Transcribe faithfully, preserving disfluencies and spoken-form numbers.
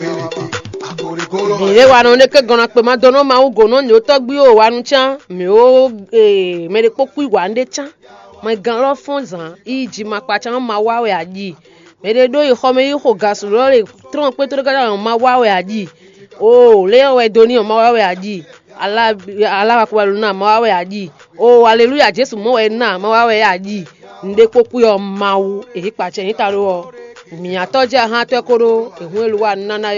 Mǐ ɖé wa nɔ ɖé ké gɔn ná kpe ma dó nɔ Mawu gǒ nɔ nǐ ó tɔ́gbí ó wa nú cán mǐ ó. Mɛ ɖé kpó kú wa nú ɖé cán. Mɛ gán lɔ fɔ́n zǎn yi ji ma kpa cán ma wá wɛ a ji. Mɛ ɖé ɖó yi xɔ mɛ yi xo gasu lɔ lě trɔ́n kpé tóɖó káká ma wá wɛ a ji. O lě wɛ dó ní ɔ́ ma wá wɛ a ji. Aláwa kú wa ló ná ma wá wɛ a ji. O aleluya Jesu mɔ wɛ ná ma wá wɛ a ji. Nǔɖé kpó kú ɔ́ Mawu èyí kpa cɛ nyí ta ɖó ɔ́. Mǐ atɔ́ jɛ ahan tɔ́ kó ɖó èhún e ló wa nú ná ná